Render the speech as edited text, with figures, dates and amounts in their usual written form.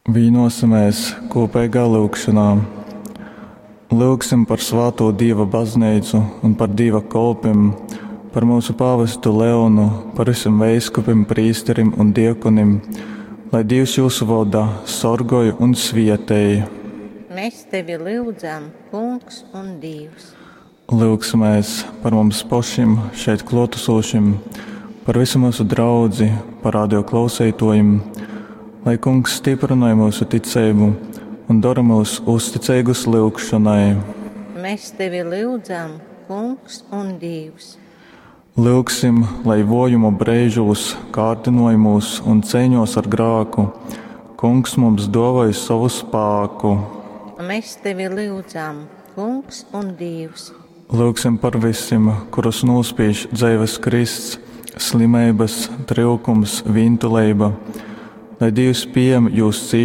Vīnosimies kūpeigā lyugšonā. Lyugsim par svātū Dīva baznīcu un par Dīva kolpim, par mūsu pāvestu Leonu, par visiem veiskupim, prīsterim un diekonim, lai Dievs jūs voda, sorgoj un svietej. Mēs tevi lyudzam, Kungs un Dievs. Lyugsimies par mums pašiem šeit klātesošiem, par visu mūsu draudzi, par radio klausītājiem, lai Kungs stiprināja mūsu ticību un dara mūs uzticīgus lyugšanai. Mēs tevi lyudzam, Kungs un Dievs. Lyugsim, lai vojumu brīžos, kārdinājumos un cīņos ar grāku, Kungs mums dāvāja savu spēku. Mēs tevi lyudzam, Kungs un Dievs. Lūgsim par visiem, kurus nospiež dzīves krists, slimības, trūkums, vientuļība, lai Dievs pieņem jūs cīšanas.